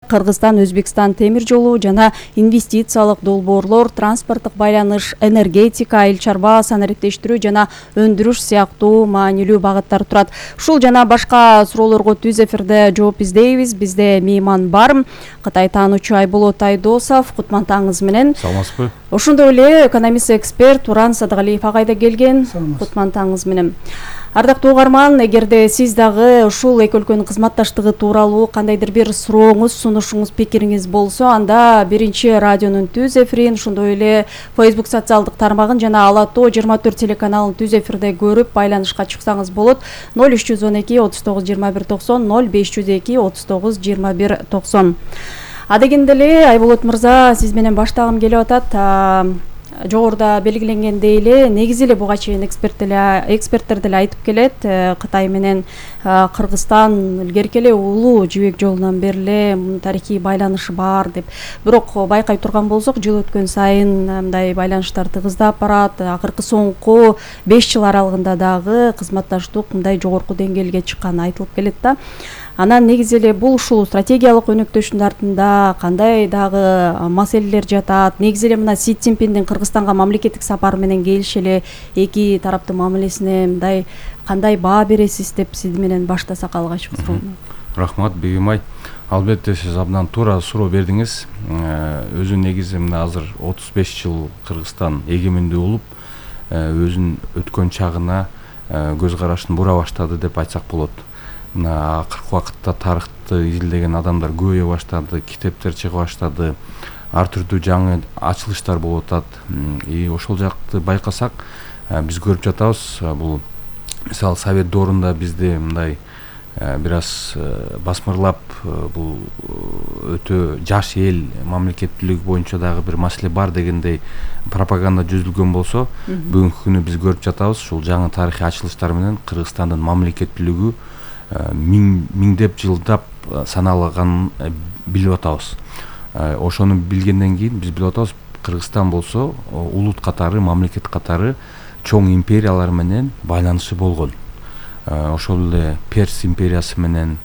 Кыргызстан Өзбекстан темир жолу жана инвестициялык долбоорлор, транспорттук байланыш, энергетика, айыл чарба санариптештирүү жана өндүрүш сыяктуу маанилүү багыттар турат. Ушул жана башка суроолорго түз эфирде жооп издейбиз. Бизде мейман бар. Кытай таануучу Айболот Айдосов, кутман таңыңыз менен. Саламатсызбы? Ошондой эле экономист эксперт Туран Садыгалиев агай да келген. Кутман таңыңыз менен. Ардактуу угарман, эгерде сиз дагы ушул эки өлкөнүн кызматташтыгы тууралуу кандайдыр бир сурооңуз, сунушуңуз, пикириңиз болсо, анда биринчи радионун түз эфирин, ошондой эле Facebook социалдык тармагын жана Ала Тоо 24 телеканалын түз эфирде көрүп байланышка чыксаңыз болот. 0312 39 21 90, 0502 39 21 90. Адегенде эле Айболот мырза, сиз менен баштагым келип атат. Жогоруда белгиленгендей эле, негизи эле буга чейин эксперттер деле айтып келет, Кытай менен Кыргызстан илгерки эле улуу жибек жолунан бери эле тарыхый байланышы бар деп. Бирок байкай турган болсок, жыл өткөн сайын мындай байланыштар тыгыздап барат. Акыркы соңку 5 жыл аралыгында дагы кызматташтык мындай жогорку деңгээлге чыкканы айтылып келет да. Анан негизи эле бул ушул стратегиялык өнөктөшүүнүн артында кандай дагы маселелер жатат? Негизи эле мына Си Цзиньпиндин Кыргызстанга мамлекеттик сапары менен келиши эле эки тараптын мамилесине мындай кандай баа бересиз деп сиз менен баштасак алгач суроону. Рахмат, Бегимай. Албетте сиз абдан туура суроо бердиңиз. Өзү негизи мына азыр 35 жыл Кыргызстан эгемендүү болуп, өзүнүн өткөн чагына көз карашын бура баштады деп айтсак болот. Мына акыркы убакытта тарыхты изилдеген адамдар көбөйө баштады, китептер чыга баштады, ар түрдүү жаңы ачылыштар болуп атат. Ошол жакты байкасак, биз көрүп жатабыз. Бул мисалы Совет доорунда бизде мындай бир аз басмырлап, бул өтө жаш эл, мамлекеттүүлүк боюнча дагы бир маселе бар дегендей пропаганда жүзүлгөн болсо, бүгүнкү күнү биз көрүп жатабыз, ушул жаңы тарыхый ачылыштар менен Кыргызстандын мамлекеттүүлүгү миңдеп жылдап саналганын билип атабыз. Ошону билгенден кийин биз билип атабыз, Кыргызстан болсо улут катары, мамлекет катары чоң империялар менен байланышы болгон. Ошол эле Перс империясы менен,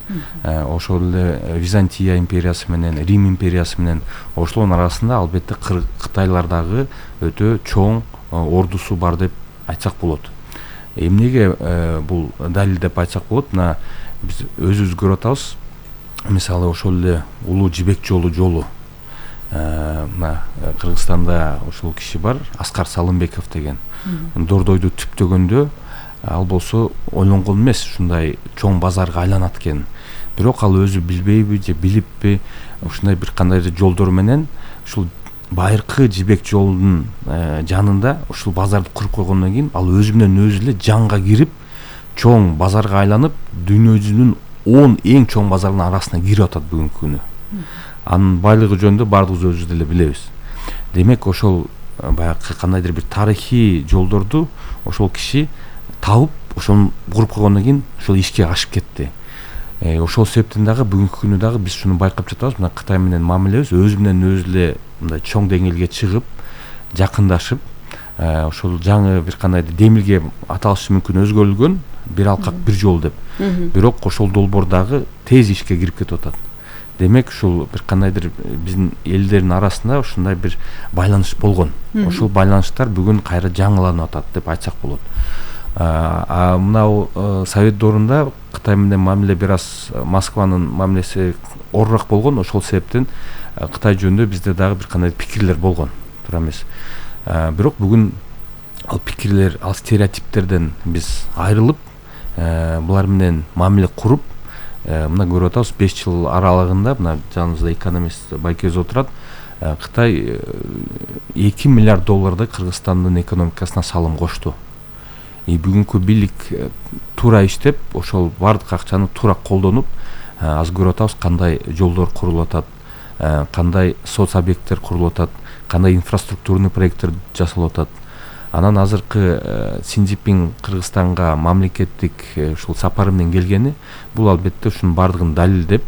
ошол эле Византия империясы менен, Рим империясы менен, ошолордун арасында албетте Кытайлар дагы өтө чоң ордусу бар деп айтсак болот. Эмнеге бул далил деп айтсак болот? Мына биз өзүбүз көрүп атабыз. Мисалы ошол эле улуу жибек жолу. Мына Кыргызстанда ошол киши бар, Аскар Салымбеков деген. Дордойду түптөгөндө ал болсо ойлонгон эмес, ушундай чоң базарга айланат экен. Бирок ал өзү билбейби же билиппи, ушундай бир кандайдыр жолдор менен ушул байыркы жибек жолунун жанында ушул базарды куруп койгондон кийин ал өзү менен өзү эле жанга кирип, чоң базарга айланып, дүйнө жүзүнүн 10 эң чоң базарынын арасына кирип атат бүгүнкү күнү. Анын байлыгы жөнүндө баардыгыбыз өзүбүз деле билебиз. Демек ошол баягы кандайдыр бир тарыхый жолдорду ошол киши табып, ошону куруп койгондон кийин ошол ишке ашып кетти. Ошол себептен дагы бүгүнкү күнү дагы биз шуну байкап жатабыз. Мына Кытай менен мамилебиз өзү менен өзү эле мындай чоң деңгээлге чыгып, жакындашып, ошол жаңы бир кандайдыр демилге аталышы мүмкүн өзгөрүлгөн, бир алкак бир жол деп. Бирок ошол долбоор дагы тез ишке кирип кетип атат. Демек ушул бир кандайдыр биздин элдердин арасында ушундай бир байланыш болгон. Ошол байланыштар бүгүн кайра жаңыланып атат деп айтсак болот. Мына Совет доорунда Кытай менен мамиле бир аз Москванын мамилеси орурак болгон. Ошол себептен Кытай жөнүндө бизде дагы бир кандай пикирлер болгон, туура эмес. Бирок бүгүн ал пикирлер, ал стереотиптерден биз айрылып, булар менен мамиле куруп, мына көрүп атабыз 5 жыл аралыгында, мына жаныбызда экономист Байкөз отурат, Кытай 2 миллиард доллардай Кыргызстандын экономикасына салым кошту. Бүгүнкү бийлик туура иштеп, ошол бардык акчаны туура колдонуп, аз көрүп атабыз кандай жолдор курулуп атат, кандай соц объекттер курулуп атат, кандай инфраструктурный проекттер жасалып атат. Анан азыркы Си Цзиньпин Кыргызстанга мамлекеттик ушул сапары менен келгени, бул албетте ушунун бардыгын далилдеп,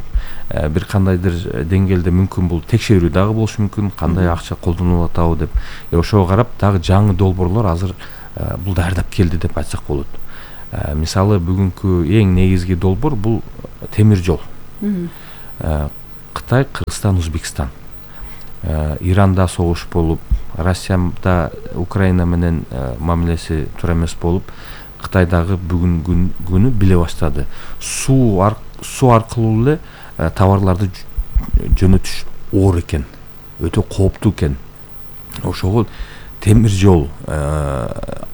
бир кандайдыр деңгээлде мүмкүн бул текшерүү дагы болушу мүмкүн, кандай акча колдонулуп атабы деп. Ошого карап дагы жаңы долбоорлор азыр бул даярдап келди деп айтсак болот. Мисалы бүгүнкү эң негизги долбоор бул темир жол. Кытай, Кыргызстан, Өзбекстан. Иранда согуш болуп, Россияда Украина менен мамилеси туура эмес болуп, Кытайдагы бүгүн күнү биле баштады. Суу аркылуу эле товарларды жөнөтүш оор экен, өтө кооптуу экен. Ошого темир жол,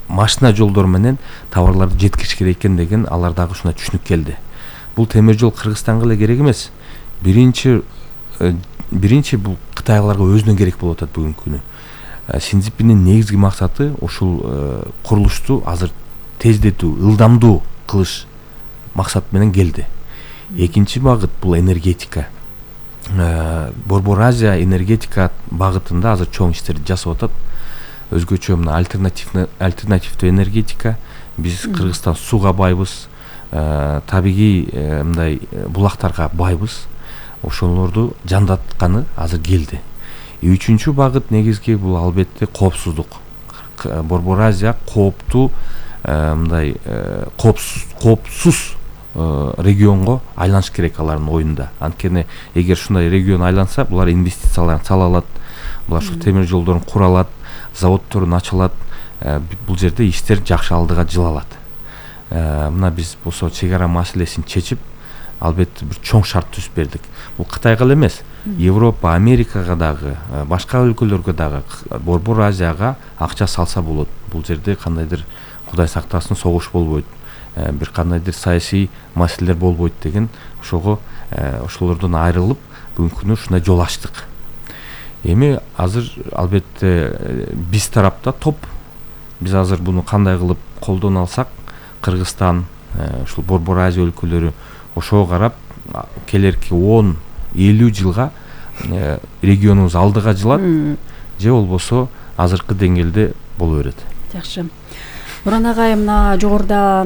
машина жолдор менен товарларды жеткириш керек экен деген алар дагы ушуна түшүнүк келди. Бул темир жол Кыргызстанга эле керек эмес. Биринчи бул Кытайларга өзүнө керек болуп атат бүгүнкү күнү. Си Цзиньпиндин негизги максаты ушул курулушту азыр тездетүү, ылдамдуу кылыш максат менен келди. Экинчи багыт бул энергетика. Борбор Азия энергетика багытында азыр чоң иштерди жасап атат. Өзгөчө мына альтернативдүү энергетика. Биз Кыргызстан сууга байбыз, табигый мындай булактарга байбыз. Ошолорду жандатканы азыр келди. Үчүнчү багыт негизги бул албетте коопсуздук. Борбор Азия кооптуу мындай коопсуз регионго айланыш керек алардын оюнда. Анткени эгер ушундай регион айланса, булар инвестицияларын сала алат, булар ушул темир жолдорун кура алат, заводдорун ача алат. Бул жерде иштер жакшы алдыга жылалат. Мына биз болсо чек ара маселесин чечип, албетте бир чоң шарт түзүп бердик. Бул Кытайга эле эмес, Европа, Америкага дагы, башка өлкөлөргө дагы, Борбор Азияга акча салса болот. Бул жерде кандайдыр Кудай сактасын согуш болбойт, бир кандайдыр саясий маселелер болбойт деген ошолордон айрылып бүгүнкү күнү ушундай жол ачтык. Эми азыр албетте биз тарапта топ. Биз азыр буну кандай кылып колдоно алсак, Кыргызстан, ушул Борбор Азия өлкөлөрү ошого карап келерки 10-50 жылга регионубуз алдыга жылат, же болбосо азыркы деңгээлде боло берет. Жакшы. Буран агай, мына жогоруда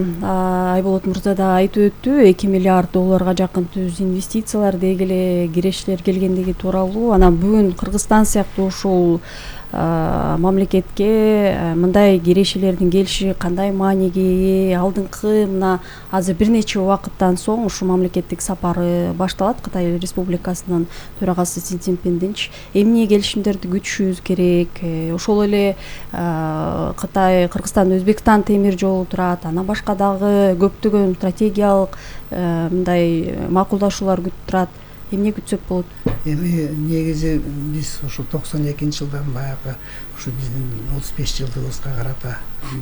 Айболот мырза да айтып өттү, 2 миллиард долларга жакын түз инвестициялар дегеле кирешилер келгендиги тууралуу. Анан бүгүн Кыргызстан сыяктуу ушул мамлекетке мындай кирешелердин келиши кандай мааниге ээ? Алдыңкы мына азыр бир нече убакыттан соң ушул мамлекеттик сапары башталат. Кытай Республикасынын төрагасы Си Цзиньпиндинчи эмне келишимдерди күтүшүбүз керек? Ошол эле Кытай, Кыргызстан, Өзбекстан темир жолу турат. Анан башка дагы көптөгөн стратегиялык мындай макулдашуулар күтүп турат. Эмне күтсөк болот? Эми негизи биз ошо 92-жылдан баягы ушу биздин 35 жылдыгыбызга карата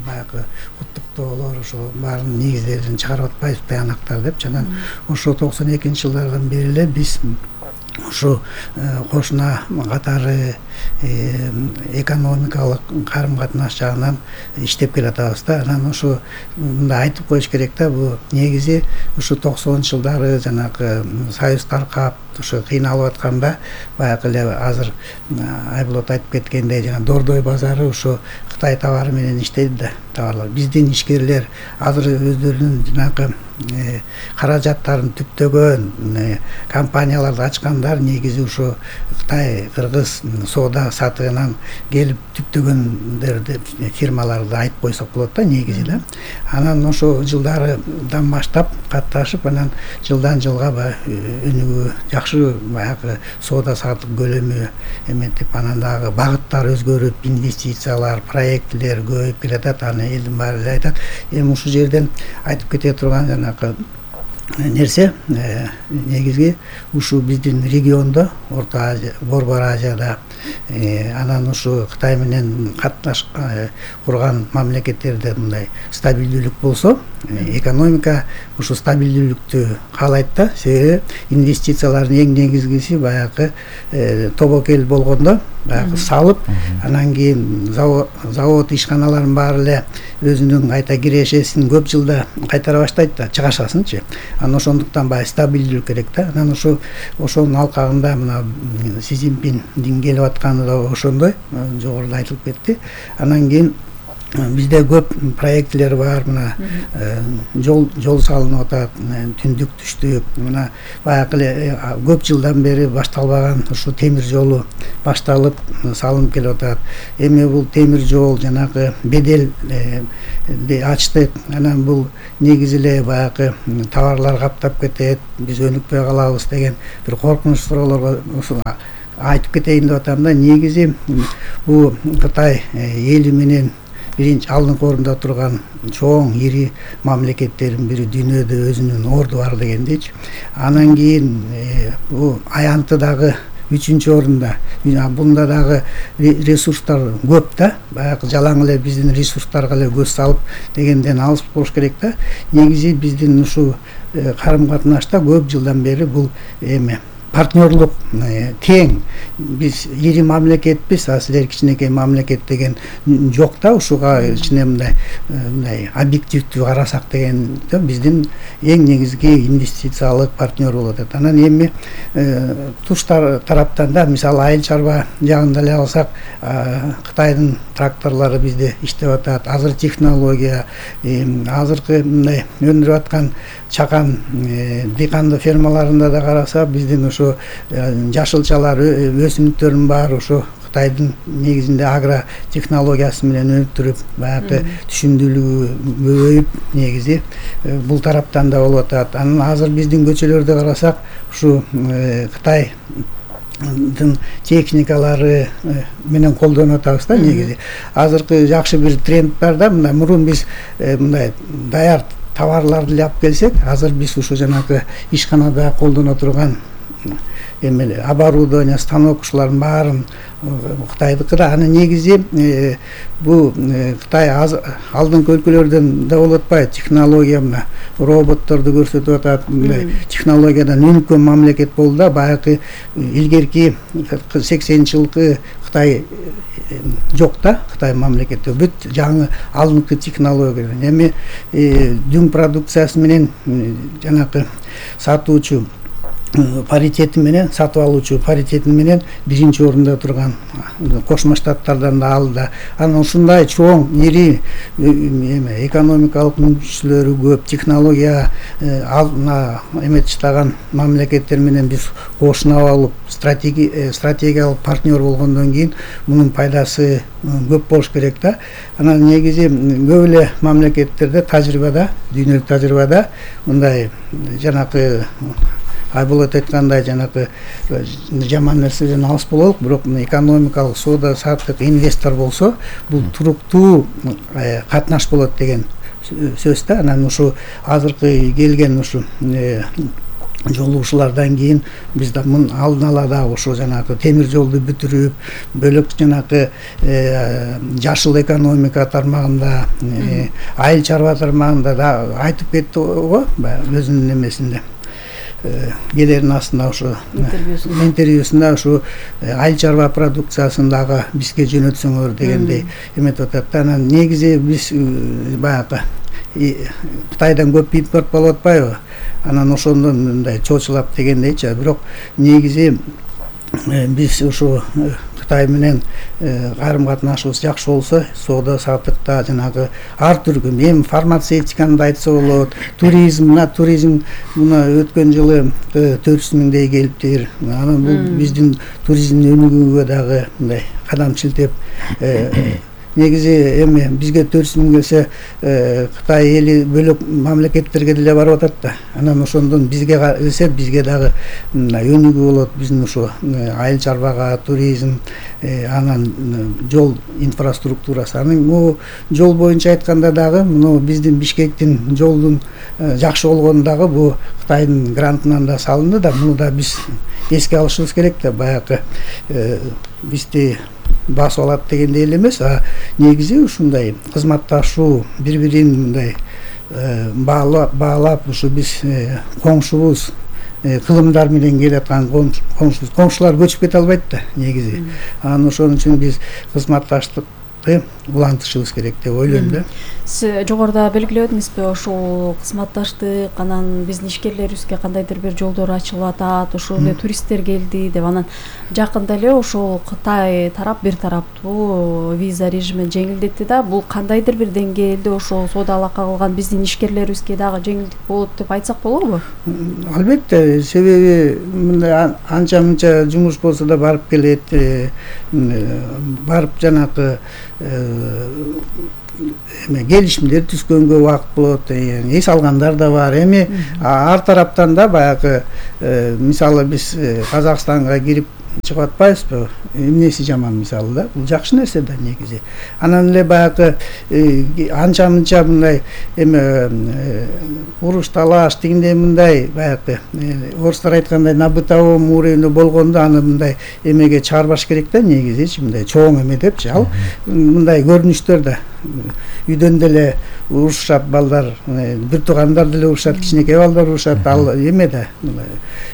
баягы куттуктоолор ошо баарын негиздерин чыгарып атпайбыз, баянактар деп. Анан ошо 92-жылдардан бери эле биз ушу кошуна катары экономикалык карым-катнаш жагынан иштеп келатабыз да. Анан ошо мындай айтып коюш керек да, бул негизи ушу 90-жылдары жанагы союз таркап ошо кыйналып атканда баягы эле азыр Айболот айтып кеткендей жана Дордой базары ошо Кытай товары менен иштейт да, товарлар. Биздин ишкерлер азыр өздөрүнүн жанагы каражаттарын түптөгөн компанияларды ачкандар негизи ушо Кытай, Кыргыз соода сатыгынан келип түптөгөндөрдү фирмаларды айтып койсок болот да, негизи да. Анан ошо жылдардан баштап катташып, анан жылдан жылга өнүгүү жакшы баягы соода саттык көлөмү эметип, анан дагы багыттар өзгөрүп, инвестициялар, проектилер көбөйүп келатат. Аны элдин баары эле айтат. Эми ушул жерден айтып кете турган жанагы нерсе негизги ушу биздин региондо, Орто Азия, Борбор Азияда, анан ушу Кытай менен катнаш курган мамлекеттерде мындай стабилдүүлүк болсо, экономика ушу стабилдүүлүктү каалайт да. Себеби инвестициялардын эң негизгиси баягы тобокел болгондо баягы салып, анан кийин завод ишканалардын баары эле өзүнүн кайта кирешесин көп жылда кайтара баштайт да, чыгашасынчы. Анан ошондуктан баягы стабилдүүлүк керек да. Анан ошонун алкагында мына Си Цзиньпиндин келип атканы да ошондой, жогоруда айтылып кетти. Анан кийин бизде көп проектилер бар. Мына жол салынып атат, түндүк түштүк. Мына баягы эле көп жылдан бери башталбаган ушу темир жолу башталып салынып келип атат. Эми бул темир жол жанагы бедел ачтык. Анан бул негизи эле баягы товарлар каптап кетет, биз өнүкпөй калабыз деген бир коркунуч суроолорго айтып кетейин деп атам да. Негизи бул Кытай эли менен биринчи алдыңкы орунда турган чоң ири мамлекеттердин бири, дүйнөдө өзүнүн орду бар дегендейчи. Анан кийин бул аянты дагы 3-орунда. Бунда дагы ресурстар көп да. Баягы жалаң эле биздин ресурстарга эле көз салып дегенден алыс болуш керек да. Негизи биздин ушу карым катнашта көп жылдан бери бул эме партнерлук тең. Биз ири мамлекетпиз, а силер кичинекей мамлекет деген жок да. Ушуга ичине мындай объективдүү карасак деген биздин эң негизги инвестициялык партнер болот. Анан эми туш тараптан да, мисалы айыл чарба жагында эле алсак, Кытайдын тракторлору бизде иштеп атат. Азыр технология, азыркы мындай өндүрүп аткан чакан дыйкандык фермаларында да караса, биздин ушу жашылчалар, өсүмдүктөрдүн баары ушу Кытайдын негизинде агро технологиясы менен өнүктүрүп, баягы түшүндүүлүгү көбөйүп, негизи бул тараптан да болуп атат. Анан азыр биздин көчөлөрдө карасак, ушу Кытайдын техникалары менен колдонуп атабыз да. Негизи азыркы жакшы бир тренд бар да. Мурун биз мындай даяр товарларды алып келсек, азыр биз ушу жанагы ишканада колдоно турган эмеле оборудование, станок ушулардын баарын Кытайдыкы да. Анын негизи бул Кытай алдыңкы өлкөлөрдөн да болуп атпайбы? Технология мына роботторду көрсөтүп атат. Технологиядан өнүккөн мамлекет болду да. Баягы илгерки 80-жылкы Кытай жок да. Кытай мамлекети бүт жаңы алдыңкы технология. Эми дүң продукциясы менен жанагы сатуучу паритети менен, сатып алуучу паритети менен биринчи орунда турган Кошмо Штаттардан да алды. Анан ушундай чоң ири экономикалык мүмкүнчүлүктөрү көп, технология эметиштаган мамлекеттер менен биз кошуна алып стратегиялык партнер болгондон кийин мунун пайдасы көп болуш керек да. Анан негизи көп эле мамлекеттерде тажрыйбада, дүйнөлүк тажрыйбада мындай жанагы Айболот айткандай жанагы жаман нерседен алыс бололук, бирок экономикалык соода саттык инвестор болсо, бул туруктуу катнаш болот деген сөз да. Анан ушу азыркы келген ушу жолугушуулардан кийин биз да мун алдын ала да ушу жанагы темир жолду бүтүрүп, бөлөк жанагы жашыл экономика тармагында, айыл чарба тармагында да айтып кетти го өзүнүн эмесинде. Келерин астында ушу интервьюсунда ушу айыл чарба продукциясын дагы бизге жөнөтсөңөр дегендей эметип атат. Анан негизи биз баягы Кытайдан көп импорт болуп атпайбы? Анан ошондон мындай чоочулап дегендейчи. Бирок негизи биз ушу Кытай менен карым катнашыбыз жакшы болсо, соода саттыкта жанагы ар түркү, эми фармацевтиканы да айтса болот, туризм муна өткөн жылы 400 миңдей келиптир. Анан бул биздин туризмдин өнүгүүгө дагы мындай кадам чилтеп, негизи эми бизге 400 миң келсе, Кытай эли бөлөк мамлекеттерге деле барып атат да. Анан ошондон бизге келсе, бизге дагы өнүгүү болот. Биздин ушу айыл чарбага, туризм, анан жол инфраструктурасы. Анан бул жол боюнча айтканда дагы муну биздин Бишкектин жолдун жакшы болгону дагы бул Кытайдын грантынан да салынды да. Муну да биз эске алышыбыз керек да. Баягы бизди басып алат дегендей эле эмес, а негизи ушундай кызматташуу, бири-бирин мындай баалап ушу биз коңшубуз, кылымдар менен келаткан коңшулар көчүп кете албайт да негизи. Анан ошон үчүн биз кызматташтык ынтымакты улантышыбыз керек деп ойлойм да. Сиз жогоруда белгиледиңизби, ошол кызматташтык анан биздин ишкерлерибизге кандайдыр бир жолдор ачылып атат, ошол эле туристтер келди деп, анан жакында эле ошол Кытай тарап бир тараптуу виза режимин жеңилдетти да. Бул кандайдыр бир деңгээлде ошол соода алака кылган биздин ишкерлерибизге дагы жеңилдик болот деп айтсак болобу? Албетте, себеби мындай анча мынча жумуш болсо да барып келет, барып жанагы келишимдер түзгөнгө убакыт болот, эс алгандар да бар. Эми ар тараптан да баягы мисалы биз Казакстанга кирип чыгып атпайбызбы? Эмнеси жаман мисалы да? Бул жакшы нерсе да негизи. Анан эле баягы анча мынча мындай уруш талаш тигиндей мындай баягы орустар айткандай на бытовом уровне болгондо аны мындай эмеге чыгарбаш керек да негизичи, мындай чоң эме депчи. Ал мындай көрүнүштөр да үйдөн деле урушат балдар, бир туугандар деле урушат, кичинекей балдар урушат, ал эме да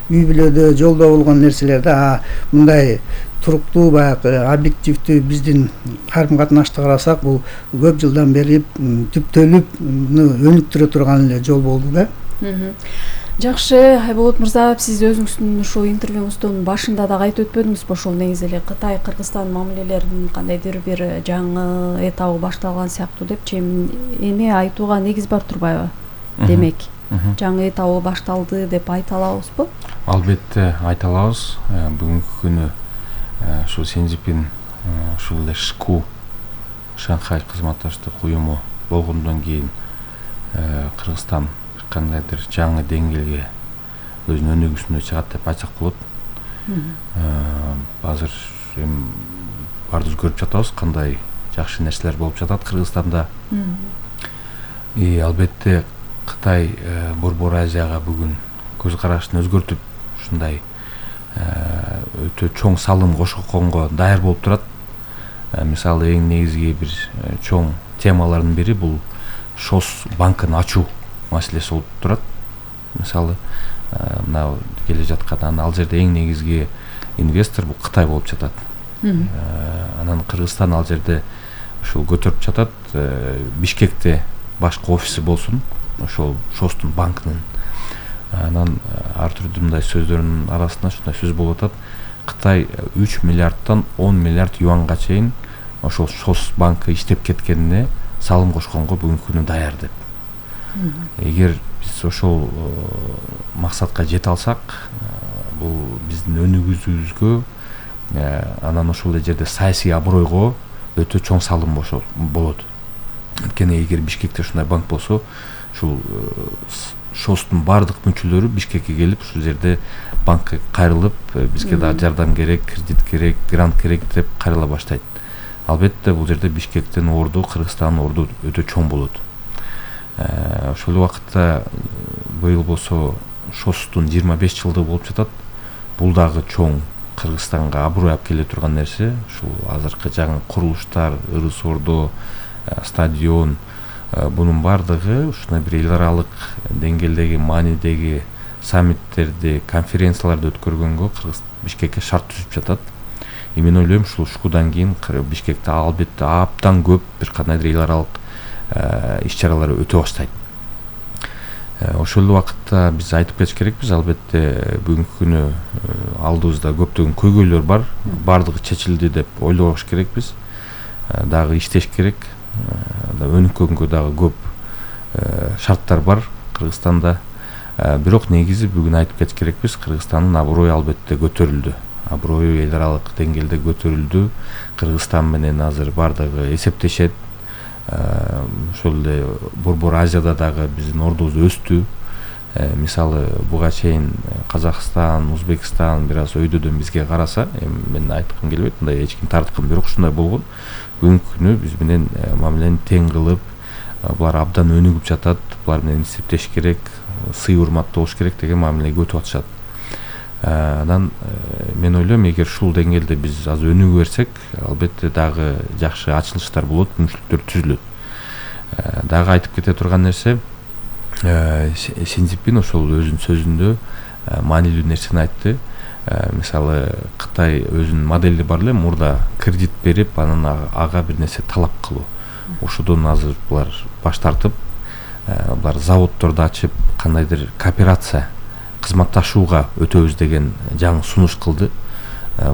үй бүлөдө жолдо болгон нерселер да. Мындай туруктуу баягы объективдүү биздин карым катнашты карасак, бул көп жылдан бери түптөлүп өнүктүрө турган эле жол болду да. Жакшы, Айболот мырза, сиз өзүңүздүн ушул интервьюңуздун башында дагы айтып өтпөдүңүзбү, ошол негизи эле Кытай Кыргызстан мамилелеринин кандайдыр бир жаңы этабы башталган сыяктуу депчи, эми айтууга негиз бар турбайбы? Демек, жаңы этабы башталды деп айта алабызбы? Албетте айта алабыз. Бүгүнкү күнү ушул Синьцзипин ушул эле ШКУ, Шанхай кызматташтык уюму болгондон кийин Кыргызстан кандайдыр жаңы деңгээлге өзүнүн өнүгүүсүнө чыгат деп айтсак болот. Азыр эми баарыбыз көрүп жатабыз кандай жакшы нерселер болуп жатат Кыргызстанда. Албетте Кытай Борбор Азияга бүгүн көз карашын өзгөртүп, ушундай өтө чоң салым кошконго даяр болуп турат. Мисалы эң негизги бир чоң темалардын бири бул ШОС банкын ачуу маселеси болуп турат. Мисалы мына келе жаткан ал жерде эң негизги инвестор бул Кытай болуп жатат. Анан Кыргызстан ал жерде ушул көтөрүп жатат. Бишкекте башкы офиси болсун ошол ШОСтун банкынын. Анан ар түрдүү мындай сөздөрдүн арасында ушундай сөз болуп атат. Кытай 3 миллиардтан 10 миллиард юанга чейин ошол ШОС банкы иштеп кеткенине салым кошконго бүгүнкү күнү даяр деп. Эгер биз ошол максатка жете алсак, бул биздин өнүгүүбүзгө, анан ошол жерде саясий абройго өтө чоң салым болот. Анткени эгер Бишкекте ушундай банк болсо, ушул ШОСтун бардык мүчөлөрү Бишкекке келип, ушул жерде банкка кайрылып, бизге да жардам керек, кредит керек, грант керек деп кайрыла баштайт. Албетте бул жерде Бишкектин орду, Кыргызстандын орду өтө чоң болот. Ошол убакытта быйыл болсо ШОСтун 25 жылдыгы болуп жатат. Бул дагы чоң Кыргызстанга аброй алып келе турган нерсе. Ушул азыркы жаңы курулуштар, ырыс ордо, стадион, бунун бардыгы ушундай бир эл аралык деңгээлдеги маанидеги саммиттерди, конференцияларды өткөргөнгө Бишкекке шарт түзүп жатат. Мен ойлойм, ушул ШКУдан кийин Бишкекте албетте абдан көп бир кандайдыр эл аралык иш-чаралар өтө баштайт. Ошол убакытта биз айтып кетиш керекпиз, албетте бүгүнкү күнү алдыбызда көптөгөн көйгөйлөр бар, бардыгы чечилди деп ойлобош керекпиз. Дагы иштеш керек, өнүккөнгө дагы көп шарттар бар Кыргызстанда. Бирок негизи бүгүн айтып кетиш керекпиз, Кыргызстандын аброю албетте көтөрүлдү. Аброю эл аралык деңгээлде көтөрүлдү. Кыргызстан менен азыр бардыгы эсептешет. Ошол эле Борбор Азияда дагы биздин ордубуз өстү. Мисалы буга чейин Казакстан, Узбекстан бир аз өйдөдөн бизге караса, мен айткым келбейт, мындай эч ким тарткан, бирок ушундай болгон. Бүгүнкү күнү биз менен мамилени тең кылып, булар абдан өнүгүп жатат, булар менен эсептеш керек, сый урматтуу болуш керек деген мамилеге өтүп атышат. Анан мен ойлойм, эгер ушул деңгээлде биз аз өнүгө берсек, албетте дагы жакшы ачылыштар болот, мүмкүнчүлүктөр түзүлөт. Дагы айтып кете турган нерсе, Синьцзипин ошол өзүнүн сөзүндө маанилүү нерсени айтты. мисалы Кытай өзүнүн модели бар эле, мурда кредит берип анан ага бир нерсе талап кылуу. Ошодон азыр булар баш тартып, булар заводдорду ачып, кандайдыр кооперация, кызматташууга өтөбүз деген жаңы сунуш кылды.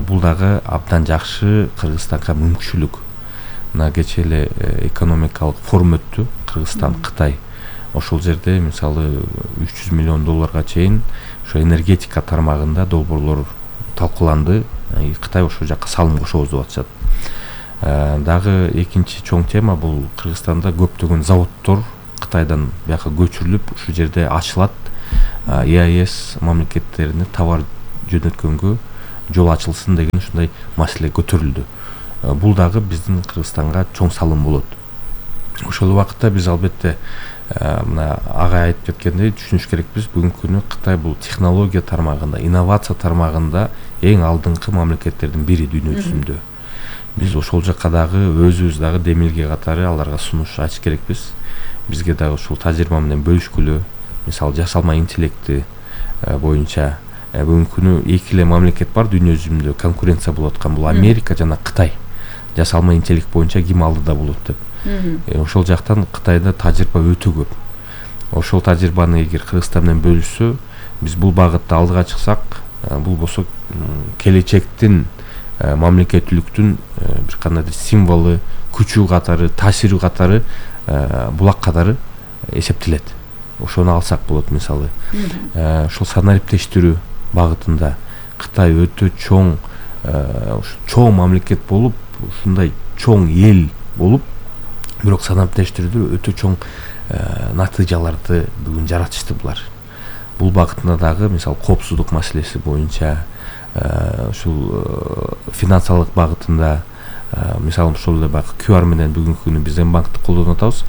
Бул дагы абдан жакшы Кыргызстанга мүмкүнчүлүк. Мына кечээ эле экономикалык форум өттү, Кыргызстан, Кытай. Ошол жерде мисалы $300 миллион чейин ошо энергетика тармагында долбоорлор талкууланды. Кытай ошол жакка салым кошобуз деп атышат. Дагы экинчи чоң тема бул Кыргызстанда көптөгөн заводдор Кытайдан бияка көчүрүлүп, ушул жерде ачылат. ЕАЭС мамлекеттерине товар жөнөткөнгө жол ачылсын деген ушундай маселе көтөрүлдү. Бул дагы биздин Кыргызстанга чоң салым болот. Ошол убакытта биз албетте мына ага айтып кеткендей түшүнүш керекпиз. Бүгүнкү күнү Кытай бул технология тармагында, инновация тармагында эң алдыңкы мамлекеттердин бири дүйнө жүзүндө. Биз ошол жакка дагы өзүбүз дагы демилге катары аларга сунуш ачыш керекпиз. Бизге дагы ушул тажрыйба менен бөлүшкүлө. Мисалы жасалма интеллекти боюнча бүгүнкү күнү эки эле мамлекет бар дүйнө жүзүндө конкуренция болуп аткан, бул Америка жана Кытай. Жасалма интеллект боюнча ким алдыда болот деп. Ошол жактан Кытайда тажрыйба өтө көп. Ошол тажрыйбаны эгер Кыргызстан менен бөлүшсө, биз бул багытта алдыга чыксак, бул болсо келечектин мамлекеттүүлүктүн бир кандайдыр символу, күчү катары, таасири катары, булак катары эсептелет. Ошону алсак болот мисалы. Ошол санариптештирүү багытында Кытай өтө чоң мамлекет болуп, ушундай чоң эл болуп, бирок санариптештирүүдө өтө чоң натыйжаларды бүгүн жаратышты булар. Бул багытында дагы мисалы коопсуздук маселеси боюнча, ушул финансылык багытында, мисалы ошол эле баягы QR менен бүгүнкү күнү биз Мбанкты колдонуп атабыз.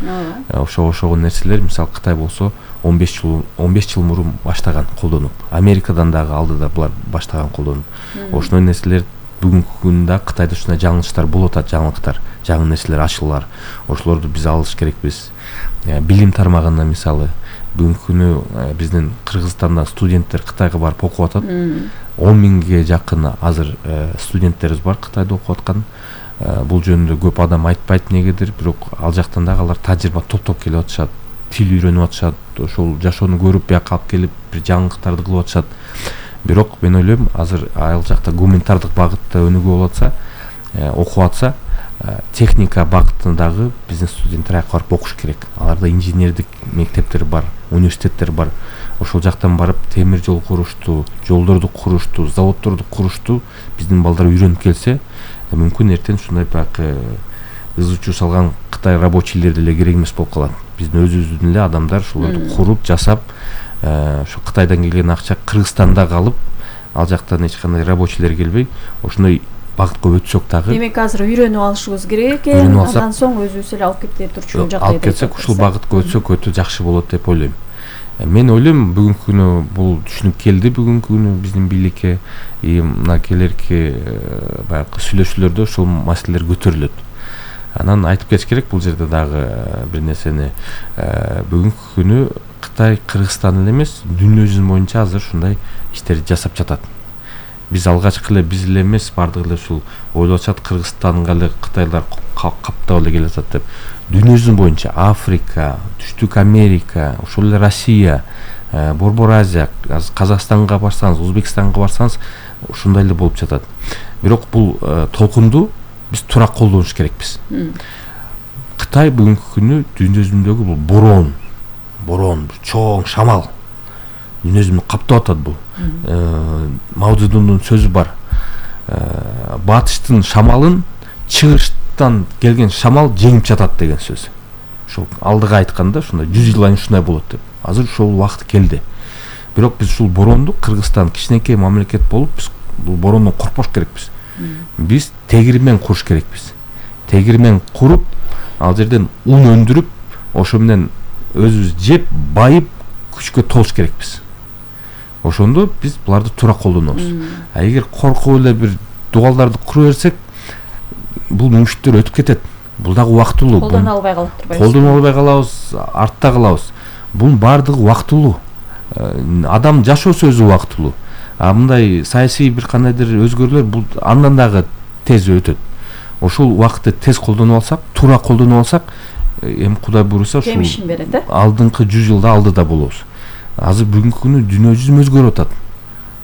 Ошого нерселер мисалы Кытай болсо 15 жыл мурун баштаган колдонуп, Америкадан дагы алдыда булар баштаган колдонуп. Ошондой нерселер бүгүнкү күндө Кытайда ушундай жаңылыштар болуп атат, жаңылыктар, жаңы нерселер ачылар. Ошолорду биз алыш керекпиз. Билим тармагында мисалы бүгүнкү күнү биздин Кыргызстандан студенттер Кытайга барып окуп атат. 10 миңге жакын азыр студенттерибиз бар Кытайда окуп аткан. Бул жөнүндө көп адам айтпайт негедир, бирок ал жактан дагы алар тажрыйба топтоп келип атышат, тил үйрөнүп атышат, ошол жашоону көрүп бияка алып келип бир жаңылыктарды кылып атышат. Бирок мен ойлойм, азыр ал жакта гуманитардык багытта өнүгүү болуп атса, окуп атса, техника багытында дагы биздин студенттер аяка барып окуш керек. Аларда инженердик мектептер бар, университеттер бар. Ошол жактан барып темир жол курушту, жолдорду курушту, заводдорду курушту биздин балдар үйрөнүп келсе, мүмкүн эртең ушундай баягы ызычуу салган Кытай рабочийлер деле керек эмес болуп калат. Биздин өзүбүздүн эле адамдар ушуларды куруп, жасап, ошо Кытайдан келген акча Кыргызстанда калып, ал жактан эч кандай рабочийлер келбей, ошондой багытка өтсөк дагы. Демек азыр үйрөнүп алышыбыз керек экен. Андан соң өзүбүз эле алып кете турчу жакта. Алып кетсек, ушул багытка өтсөк өтө жакшы болот деп ойлойм. Мен ойлойм, бүгүнкү күнү бул түшүнүк келди, бүгүнкү күнү биздин бийликке, мына келерки баягы сүйлөшүүлөрдө ушул маселелер көтөрүлөт. Анан айтып кетиш керек бул жерде дагы бир нерсени. Бүгүнкү күнү Кытай Кыргызстан эле эмес, дүйнө жүзү боюнча азыр ушундай иштерди жасап жатат. Биз алгачкы эле биз эле эмес, бардыгы эле ушул ойлоп атышат, Кыргызстанга эле Кытайлар каптап эле келе жатат деп. Дүйнө жүзү боюнча Африка, Түштүк Америка, ошол эле Россия, Борбор Азия, Казакстанга барсаңыз, Өзбекстанга барсаңыз ушундай эле болуп жатат. Бирок бул толкунду биз туура колдонуш керекпиз. Кытай бүгүнкү күнү дүйнө жүзүндөгү бул борон, чоң шамал дүйнө жүзүн каптап атат бул. Мао Цзэдундун сөзү бар. Батыштын шамалын чыгыштан келген шамал жеңип жатат деген сөз. Ошол алдыга айтканда ушундай 100 жыл айын ушундай болот деп. Азыр ушул убакыт келди. Бирок биз ушул боронду, Кыргызстан кичинекей мамлекет болуп, биз бул борондон коркпош керекпиз. Биз тегирмен куруш керекпиз. Тегирмен куруп, ал жерден ун өндүрүп, ошо менен өзүбүз жеп, байып, күчкө толуш керекпиз. Ошондо биз буларды туура колдонобуз. Эгер коркуп эле бир дугалдарды кура берсек, бул мүмкүнчүлүктөр өтүп кетет. Бул дагы убактылуу. Колдоно албай калып турбайбыз. Колдоно албай калабыз, артта калабыз. Бунун баардыгы убактылуу. Адам жашоосу өзү убактылуу. А мындай саясий бир кандайдыр өзгөрүүлөр бул андан дагы тез өтөт. Ошол убакытты тез колдонуп алсак, туура колдонуп алсак, эми Кудай буйруса ушул жемишин берет, алдыңкы 100 жылда алдыда болобуз. Азыр бүгүнкү күнү дүйнө жүзү өзгөрүп атат.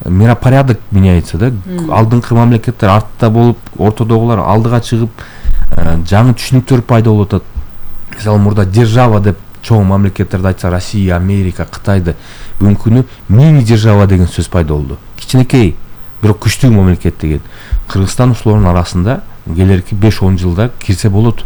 Миропорядок меняется, да? Алдыңкы мамлекеттер артта болуп, ортодогулар алдыга чыгып, жаңы түшүнүктөр пайда болуп атат. Мисалы мурда держава деп чоң мамлекеттерди айтса, Россия, Америка, Кытайды, бүгүнкү күнү мини держава деген сөз пайда болду. Кичинекей, бирок күчтүү мамлекет деген. Кыргызстан ушулардын арасында келерки 5-10 жылда кирсе болот.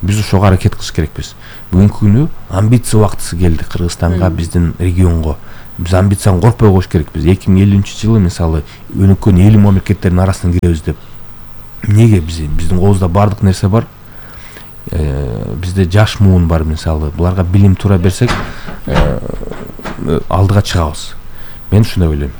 Биз ошого аракет кылыш керекпиз. Бүгүнкү күнү амбиция убактысы келди Кыргызстанга, биздин регионго. Биз амбицияны коркпой коюш керекпиз. 2050-жылы мисалы өнүккөн 50 мамлекеттердин арасына киребиз деп. Эмнеге биздин колубузда бардык нерсе бар. Бизде жаш муун бар мисалы. Буларга билим туура берсек, алдыга чыгабыз. Мен ушундай ойлойм.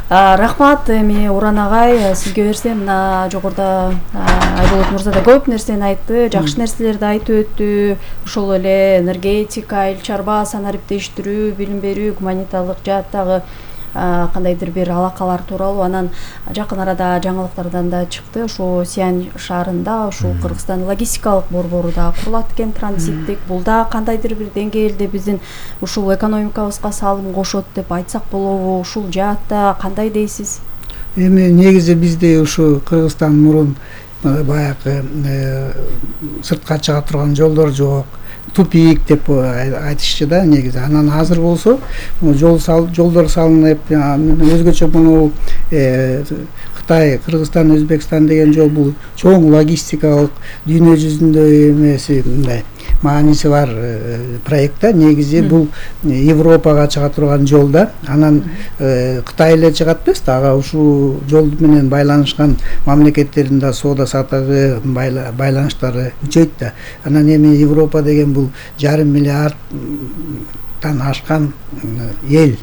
Рахмат, эми Уран агай, сизге берсем, мына жогоруда Айболот мырза да көп нерсени айтты, жакшы нерселерди айтып өттү. Ошол эле энергетика, эл чарба, санариптештирүү, билим берүү, гуманитарлык жааттагы кандайдыр бир алакалар тууралуу. Анан жакын арада жаңылыктардан да чыкты. Ошо Сиань шаарында ушул Кыргызстан логистикалык борбору да курулат экен, транзиттик. Бул да кандайдыр бир деңгээлде биздин ушул экономикабызга салым кошот деп айтсак болобу? Ушул жаатта кандай дейсиз? Эми негизи бизде ушу Кыргызстан мурун баягы сыртка чыга турган жолдор жок, тупик деп айтышчу да негизи. Анан азыр болсо жолдор салынып, өзгөчө муну Кытай, Кыргызстан, Өзбекстан деген жол бул чоң логистикалык дүйнө жүзүндө эмеси мындай мааниси бар проектта. Негизи бул Европага чыга турган жол да. Анан Кытай эле чыгат эмес, ага ушул жол менен байланышкан мамлекеттердин да соода саттагы байланыштары күчөйт да. Анан эми Европа деген бул 5,5 миллиардтан ашкан эл.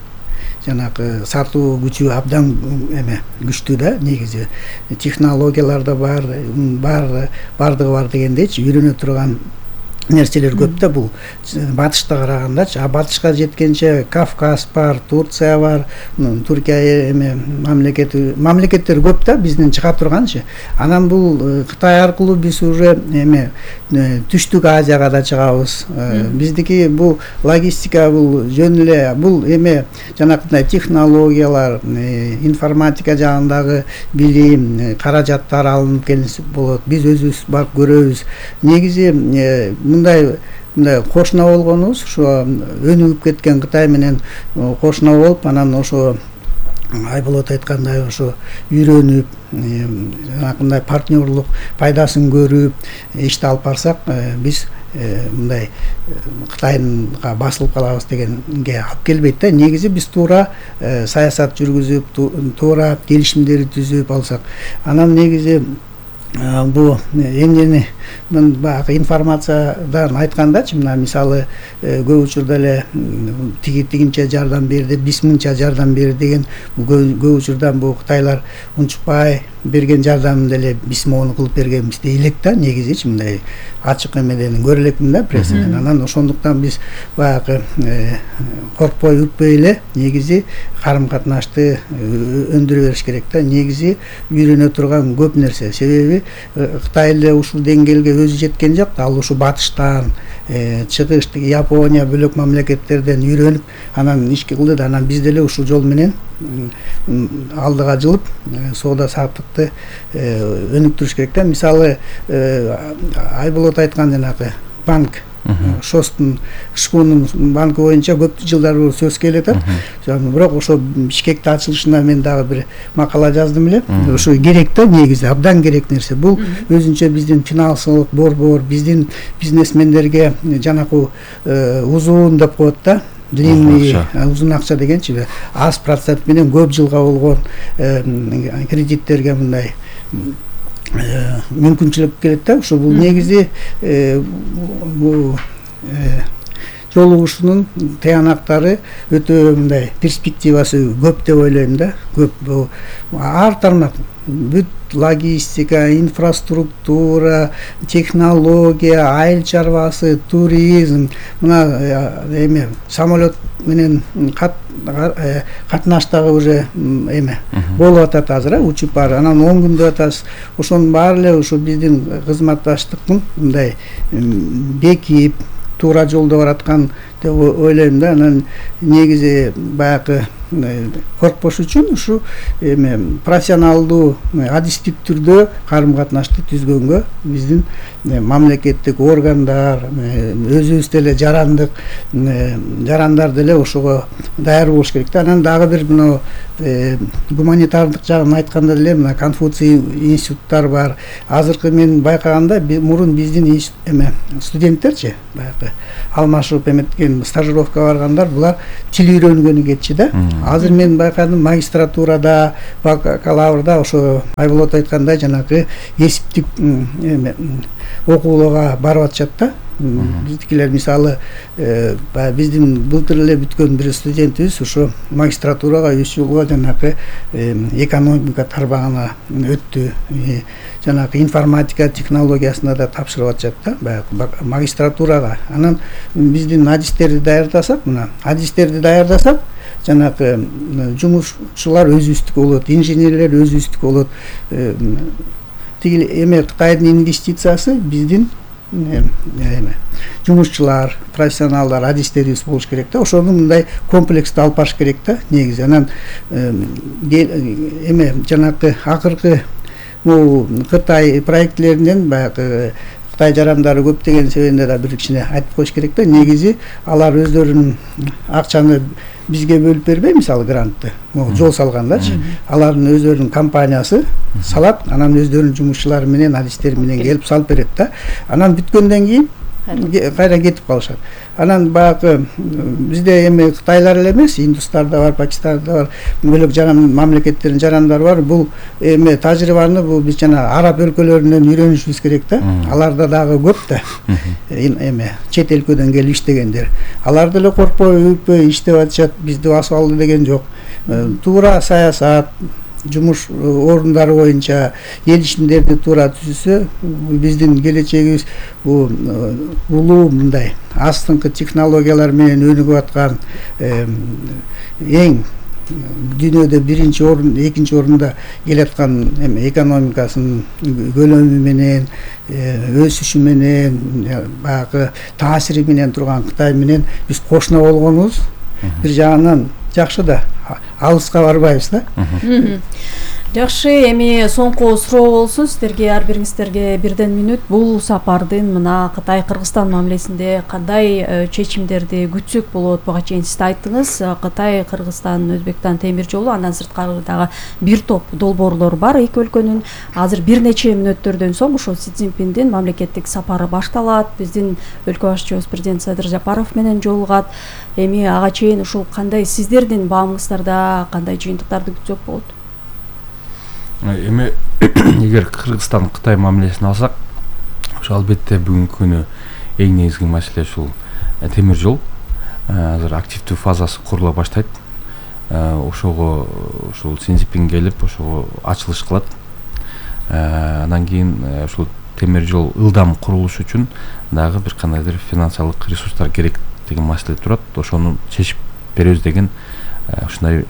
Жанагы сатуу күчү абдан күчтүү да негизи. Технологиялар да бар, бардыгы бар дегендейчи, үйрөнө турган нерселер көп да бул батышта карагандачы. А батышка жеткенче Кавказ бар, Турция бар, Түркия мамлекеттер көп да биздин чыга турганчы. Анан бул Кытай аркылуу биз уже түштүк Азияга да чыгабыз. Биздики бул логистика, бул жөн эле бул жанакындай технологиялар, информатика жагындагы билим, каражаттар алынып келсе болот. Биз өзүбүз барып көрөбүз. Негизи мындай кошуна болгонубуз, ошо өнүгүп кеткен Кытай менен кошуна болуп, анан ошо Айболот айткандай ошо үйрөнүп, жанакындай партнерлук пайдасын көрүп ишти алып барсак, биз мындай Кытайга басылып калабыз дегенге алып келбейт да. Негизи биз туура саясат жүргүзүп, туура келишимдерди түзүп алсак, анан негизи бул эмнени мен баягы информациядан айткандачы, мына мисалы көп учурда эле тигинче жардам берди, 5000 жардам берди деген, көп учурда бул Кытайлар унчукпай берген жардамын деле 5000 кылып бергенбиз дейлек да негизичи, мындай ачык эмеден көрө элекмин да прессаден. Анан ошондуктан биз баягы коркпой үрпөй эле негизи карым катнашты өндүрө бериш керек да. Негизи үйрөнө турган көп нерсе, себеби Кытай эле ушул деңгээлге өзү жеткен жок, ал ушу батыштан, чыгыштык Япония бөлөк мамлекеттерден үйрөнүп, анан ишке кылды да. Анан биз деле ушул жол менен алдыга жылып соода саттыкты өнүктүрүш керек да. Мисалы Айболот айткан жанагы банк, Шостун Шкунун банкы боюнча көп жылдар сөз келет. Бирок ошо Бишкекте ачылышына мен дагы бир макала жаздым эле. Ошо керек да негизи, абдан керек нерсе. Бул өзүнчө биздин финансылык борбор, биздин бизнесмендерге жанакы узун деп коет да. Длинный узун акча дегенчи, аз процент менен көп жылга болгон кредиттерге мындай мүмкүнчүлүк келет да. Ошо бул негизи бул жолугушуунун тыянактары өтө мындай перспективасы көп деп ойлойм да. Көп ар тармак бүт логистика, инфраструктура, технология, айыл чарбасы, туризм, мына эме самолет менен катнаштагы уже эме болуп атат азыр, учуп бар. Анан 10 күндө атасыз. Ошонун баары эле ушу биздин кызматташтыктын мындай бекип туура жолдо бараткан деп ойлойм да. Анан негизи баягы коркпош үчүн ушу эме профессионалдуу адистик түрдө карым катнашты түзгөнгө биздин мамлекеттик органдар, өзүбүз деле жарандар деле ошого даяр болуш керек да. Анан дагы бир мына гуманитардык жагын айтканда деле мына Конфуций институттар бар. Азыркы мен байкаганда мурун биздин эме студенттерчи баягы алмашып эметкен стажировка баргандар булар тил үйрөнгөнү кетчи да. Азыр мен байкадым магистратурада, бакалаврда ошо Айболот айткандай жанагы кесиптик окуулууга барып атышат да. Биздикилер мисалы биздин былтыр эле бүткөн бир студентибиз ошо магистратурага 3 жылга жанагы экономика тармагына өттү. Жанагы информатика технологиясына да тапшырып атышат да, баягы магистратурага. Анан биздин адистерди даярдасак, мына адистерди даярдасак, жанагы жумушчулар өзүбүздүкү болот, инженерлер өзүбүздүкү болот. Тиги эме Кытайдын инвестициясы биздин жумушчулар, профессионалдар, адистерибиз болуш керек да. Ошону мындай комплексти алып барыш керек да негизи. Анан эме жанагы акыркы могу Кытай проектлеринен баягы Кытай жарандары көптөгөн себебинде да бир кичине айтып коюш керек да. Негизи алар өздөрүнүн акчаны бизге бөлүп бербей, мисалы грантты, жол салгандарчы, алардын өздөрүнүн компаниясы салат, анан өздөрүнүн жумушчулары менен, адистери менен келип салып берет да. Анан бүткөндөн кийин кайра кетип калышат. Анан баягы бизде эми Кытайлар эле эмес, индустар да бар, Пакистанда бар, бөлөк мамлекеттердин жарандары бар. Бул эми тажрыйбаны бул биз жана араб өлкөлөрүнөн үйрөнүшүбүз керек да. Аларда дагы көп да. Эми чет өлкөдөн келип иштегендер. Алар деле коркпой, үйпөй иштеп атышат. Бизде асфалды деген жок. Туура саясат, жумуш орундары боюнча келишимдерди туура түзүлсө, биздин келечегибиз улуу мындай астыңкы технологиялар менен өнүгүп аткан эң дүйнөдө биринчи орун, экинчи орунда келаткан эме экономикасынын көлөмү менен, өсүшү менен, баягы таасири менен турган Кытай менен биз кошуна болгонубуз бир жагынан жакшы да, алыска барбайбыз да. Жакшы, эми соңку суроо болсун сиздерге, ар бириңиздерге бирден мүнөт. Бул сапардын мына Кытай-Кыргызстан мамилесинде кандай чечимдерди күтсөк болот? Буга чейин сиз айттыңыз, Кытай, Кыргызстан, Өзбекстан темир жолу, андан сырткары дагы бир топ долбоорлор бар эки өлкөнүн. Азыр бир нече мүнөттөрдөн соң ошо Си Цзиньпиндин мамлекеттик сапары башталат. Биздин өлкө башчыбыз президент Садыр Жапаров менен жолугат. Эми ага чейин ушул кандай сиздердин баамыңыздарда кандай жыйынтыктарды күтсөк болот? Эми эгер Кыргызстан Кытай мамилесин алсак, ошо албетте бүгүнкү күнү эң негизги маселе ушул темир жол. Азыр активдүү фазасы курула баштайт. Ошого ушул Си Цзиньпин келип, ошого ачылыш кылат. Андан кийин ушул темир жол ылдам курулуш үчүн дагы бир кандайдыр финансылык ресурстар керек деген маселе турат. Ошону чечип беребиз деген ушундай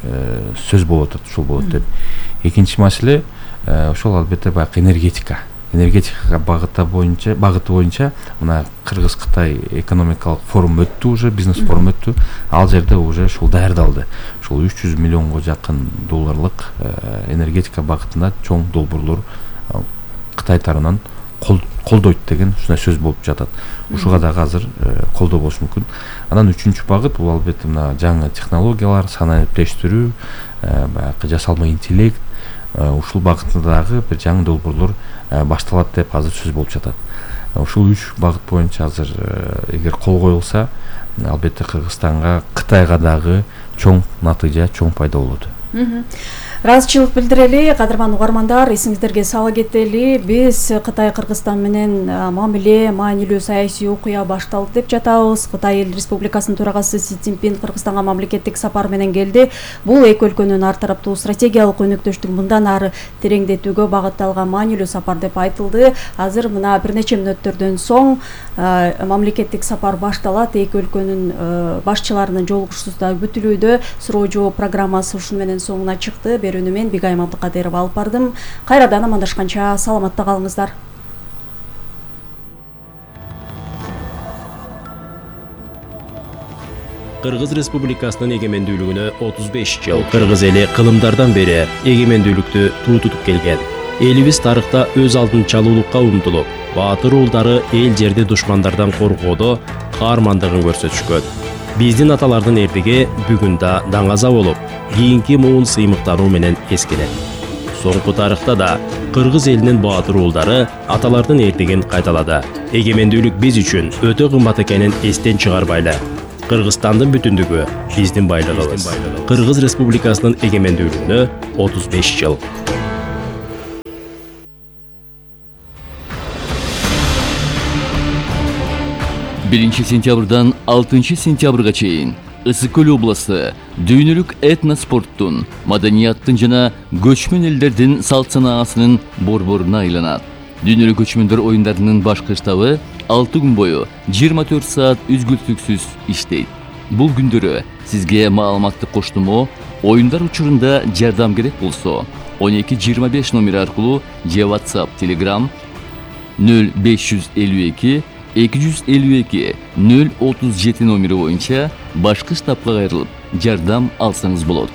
сөз болуп атат, ушул болот деп. Экинчи маселе ошол албетте баягы энергетикага багыты боюнча мына Кыргыз-Кытай экономикалык форум өттү, уже бизнес форум өттү. Ал жерде уже ушул даярдалды. Ушул 300 миллионго жакын долларлык энергетика багытында чоң долбоорлор Кытай тарабынан колдойт деген ушундай сөз болуп жатат. Ушуга дагы азыр колдоо болуш мүмкүн. Анан үчүнчү багыт бул албетте мына жаңы технологиялар, санариптештирүү, баягы жасалма интеллект, ушул багытында дагы бир жаңы долбоорлор башталат деп азыр сөз болуп жатат. Ушул 3 багыт боюнча азыр эгер кол коюлса, албетте Кыргызстанга, Кытайга дагы чоң натыйжа, чоң пайда болот. ыраазычылык билдирели. Кадырман угармандар, эсиңиздерге сала кетели, биз Кытай Кыргызстан менен мамиле, маанилүү саясий окуя башталды деп жатабыз. Кытай эл республикасынын төрагасы Си Цзиньпин Кыргызстанга мамлекеттик сапар менен келди. Бул эки өлкөнүн ар тараптуу стратегиялык өнөктөштүгүн мындан ары тереңдетүүгө багытталган маанилүү сапар деп айтылды. Азыр мына бир нече мүнөттөрдөн соң мамлекеттик сапар башталат. Эки өлкөнүн башчыларынын жолугушуусу да бүтүлүүдө. Суроо жооп программасы ушуну менен соңуна чыкты. Берүүнү мен Бигайым Абдыкадырова алып бардым. Кайрадан амандашканча саламатта калыңыздар. Кыргыз Республикасынын эгемендүүлүгүнө 35 жыл. Кыргыз эли кылымдардан бери эгемендүүлүктү тутуп келген. Элибиз тарыхта өз алдынчалуулукка умтулуп, баатыр уулдары эл жерди душмандардан коргоодо каармандыгын көрсөтүшкөн. Биздин аталардын эрдиги бүгүн да даңаза болуп, кийинки муун сыймыктануу менен эскелет. Соңку тарыхта да кыргыз элинин баатыр уулдары аталардын эрдигин кайталады. Эгемендүүлүк биз үчүн өтө кымбат экенин эстен чыгарбайлы. Кыргызстандын бүтүндүгү биздин байлыгыбыз. Кыргыз Республикасынын эгемендүүлүгүнө 35 жыл. 1 сентябрдан 6 сентябрга чейин Ысык Көл областы дүйнөлүк этноспорттун, маданияттын жана көчмөн элдердин салт санаасынын борборуна айланат. Дүйнөлүк көчмөндөр оюндарынын башкы штабы 6 күн бою 24 саат үзгүлтүксүз иштейт. Бул күндөрү сизге маалыматтык коштомо, оюндар учурунда жардам керек болсо 1225 номери аркылуу же WhatsApp, Telegram 0552 252 037 номери боюнча башкы штабка кайрылып жардам алсаңыз болот.